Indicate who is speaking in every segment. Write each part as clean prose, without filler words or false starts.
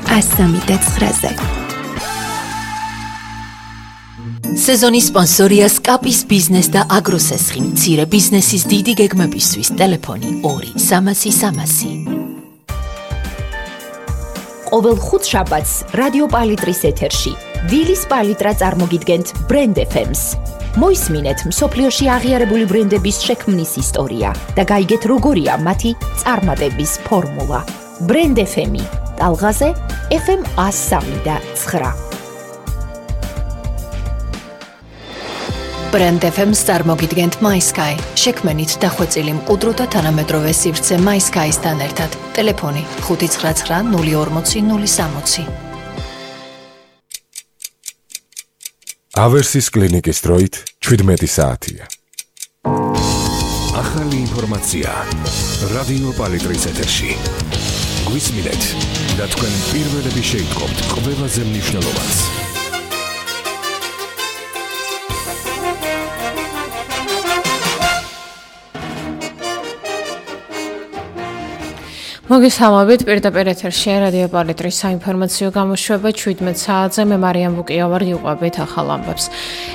Speaker 1: 103-ზე.
Speaker 2: სეზონის სპონსორია სკაპის ბიზნეს და აგროსესხი, მცირე ბიზნესის დიდი გეგმებისთვის ტელეფონი 2-300-300.
Speaker 3: ყოველ ხუთშაბათს რადიო პალიტრის ეთერში დილის პალიტრა წარმოგიდგენთ Brand FM-ს. მოისმინეთ მსოფლიოში აღიარებული ბრენდების შექმნის ისტორია და გაიგეთ როგორია მათი წარმატების ფორმულა. Brand FM-ი ტალღაზე FM 103.9.
Speaker 2: Brand FM-ს წარმოგიდგენთ MySky. შექმნით დახვეწილი მყუდრო და თანამედროვე სივრცე MySky-სთან ერთად. ტელეფონი 599-040-060.
Speaker 4: ავერსის კლინიკის დროით 17 საათია.
Speaker 5: ახალი ინფორმაცია რადიო პალიტრის ეთერში. გვისმინეთ და თქვენ პირველები შეიტყობთ ყველაზე მნიშვნელოვანს.
Speaker 6: მოგესალმებით პირდაპირ ეთერში რადიო პალიტრის საინფორმაციო გამოშვება 17 საათზე მე მარიამ ბუკიავარ გიყვებით ახალ ამბებს.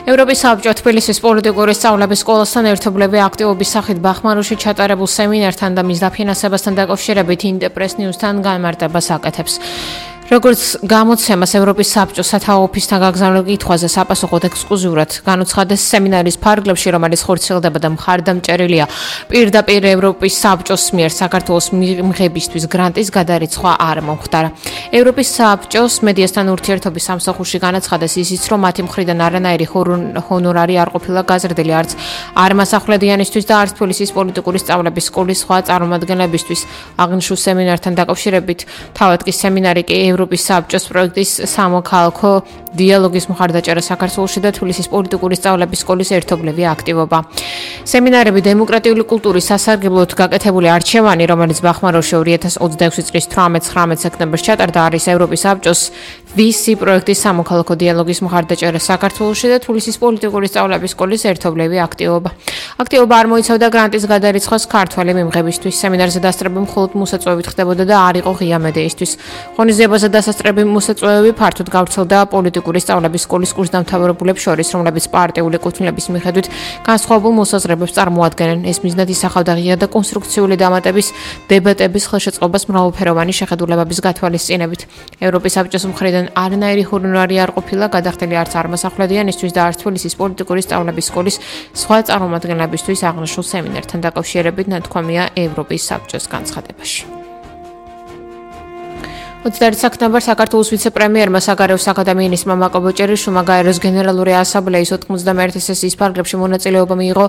Speaker 6: ევროპის საბჭო თბილისის პოლიტიკური სწავლების სკოლასთან ერთობლივი აქტივობის სახით ბახმაროში ჩატარებულ სემინართან და მის დაფინანსებასთან დაკავშირებით ინტერპრეს ნიუსთან განმარტებას აკეთებს. როგორც გამოცემას ევროპის საბჭოს სათავო ოფისთან გაგზავნილ კითხვაზე საპასუხოდ ექსკლუზიურად განუცხადეს სემინარის ფარგლებში, რომელიც ხორციელდება და მხარდამჭერილია პირდაპირ ევროპის საბჭოს მიერ საქართველოს მიღებისთვის გრანტის გადარიცხვა არ მომხდარა. ევროპის საბჭოს მედიასთან ურთიერთობის სამსახურში განაცხადეს ისიც, რომ მათი მხრიდან არანაირი ჰონორარი არ ყოფილა გაზრდილი არც არმასახვლედიანისთვის და არც თბილისის პოლიტიკური სწავლების სკოლის სხვა წარმომადგენლებისთვის. აღნიშნულ სემინართან დაკავშირებით თავად კი სემინარი კი ევროპის საბჭოს პროექტის სამოქალაქო დიალოგის მხარდაჭერა საქართველოში და თბილისის პოლიტიკური სწავლების სკოლის ერთობლივი აქტივობა. სემინარები დემოკრატიული კულტურის სასარგებლოდ გაკეთებული არჩევანი, რომელიც ბახმაროში 2026 წლის 18-19 სექტემბერს ჩატარდა, არის ევროპის საბჭოს VC პროექტის სამოქალაქო დიალოგის მხარდაჭერა საქართველოში და თბილისის პოლიტიკური სწავლების სკოლის ერთობლივი აქტივობა. აქტივობა არ მოიცავდა გრანტის გადარიცხვას ქართველი მიმღებისთვის. სემინარზე დასწრება მხოლოდ მოსაწვევით ხდებოდა და არ იყო ღია მედიისთვის. ღონისძიებაზე დასასწრები მოსაწვევები ფართოდ გავრცელდა პოლიტიკური სწავლების სკოლის კურსდამთავრებულებს შორის, რომლებიც პარტიული კუთვნილების მიხედვით განსხვავებულ მოსაზრებებს წარმოადგენენ. ეს მიზნად ისახავდა ღია და კონსტრუქციული დამატების დებატების ხელშეწყობას მრავალფეროვანი შეხედულებების გათვალისწინებით. ევროპის საბჭოს მხრიდან არანაირი ჰონორარი არ ყოფილა გადახდილი არც არმასახვლედიანისთვის და არც თბილისის პოლიტიკური სწავლების სკოლის სხვა წარმომადგენლებისთვის აღნიშნულ სემინართან დაკავშირებით ნათქვამია ევროპის საბჭოს განცხადებაში. 20 სექტემბერს საქართველოს ვიცე-პრემიერმა საგარეო საქმეთა მინისტრმა მაკობ ჭერიშვილმა გაეროს გენერალური ასამბლეის 91 სესიის ფარგლებში მონაწილეობა მიიღო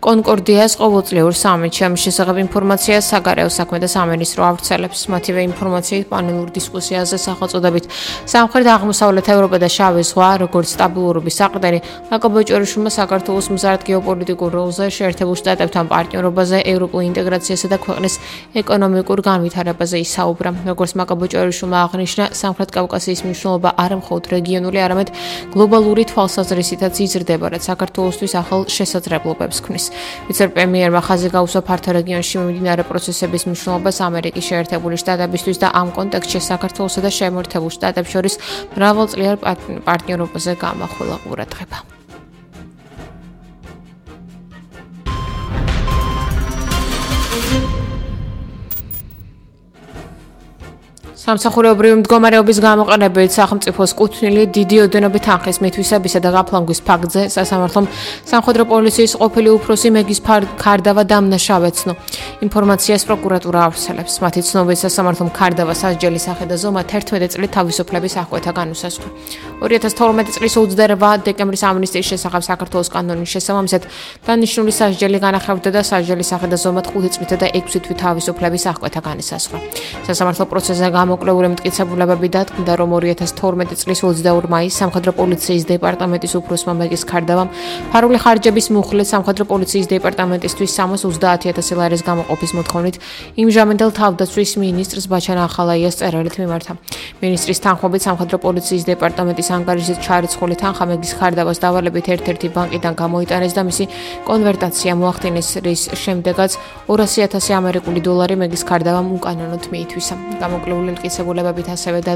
Speaker 6: კონკორდიას ყოველწლიურ სამიტში. ამის შესახებ ინფორმაციას საგარეო საქმეთა სამინისტრო ავრცელებს. მათივე ინფორმაციით პანელურ დისკუსიაზე სახელწოდებით სამხრეთ-აღმოსავლეთ ევროპა და შავი ზღვა, როგორც სტაბილურობის საყრდენი, მაკობ ჭერიშვილმა საქართველოს მზარდ გეოპოლიტიკურ როლზე, შეერთებულ შტატებთან პარტნიორობაზე, ევროპულ ინტეგრაციასა და ქვეყნის ეკონომიკურ განვითარებაზე ისაუბრა. როგორც მაკობ ჭერიშვილმა აღნიშნა, სამხრეთ კავკასიის მნიშვნელობა არა მხოლოდ რეგიონული, არამედ გლობალური თვალსაზრისითაც იზრდება, რაც საქართველოსთვის ახალ შესაძლებლობებს ქმნის. ვიცე-პრემიერმა ხაზი გაუსვა ფართო რეგიონში მიმდინარე პროცესების მნიშვნელობას ამერიკის შეერთებული შტატებისთვის და ამ კონტექსტში საქართველოსა და შემოერთებულ შტატებს შორის მრავალწლიარ პარტნიორობაზე გამახვილა ყურადღება. სამსახურეობრივი მდგომარეობის გამოყენებით სახელმწიფოს კუთვნილი დიდი ოდენობით თანხის მითვისებისა და გაფლანგვის ფაქტზე სასამართლომ სამხედრო პოლიციის ყოფილი უფროსი მეგის ქარდავა დამნაშავეცნო. ინფორმაციას პროკურატურა ავრცელებს. მათი ცნობით სასამართლომ ქარდავა სასჯელი სახე და ზომა 11 წლით თავისუფლების აღკვეთა განუსაზღვრა. 2012 წლის 28 დეკემბრის ამნისტიის შესახებ საქართველოს კანონის შესაბამისად დანიშნული სასჯელი განახევდა და სასჯელი სახე და ზომა 5 წლით და 6 თვით თავისუფლების აღკვეთა განისაზღვრა. სასამართლო პროცესზე გამოკლებული მტკიცებულებები დადგმდა, რომ 2012 წლის 22 მაისს სამხედრო პოლიციის დეპარტამენტის უფროსმა მეგის ქარდავამ ფარული ხარჯების მიუხედავად სამხედრო პოლიციის დეპარტამენტისთვის 330,000 ლარის გამოყოფის მოთხოვნით იმჟამინდელ თავდაცვის მინისტრს ბაჩან ახალაიას წერილით მიმართა. მინისტრის თანხმობით სამხედრო პოლიციის დეპარტამენტის ანგარიშზე ჩარიცხული თანხა მეგის ქარდავას დავალებით ერთ-ერთი ბანკიდან გამოიტანეს და მისი კონვერტაცია მოახდინეს, რის შემდეგაც 200,000 ამერიკული დოლარი მეგის ქარდავამ უკანონოდ მიითვისა. გამოკლებული მტკიცებულებებით ასევე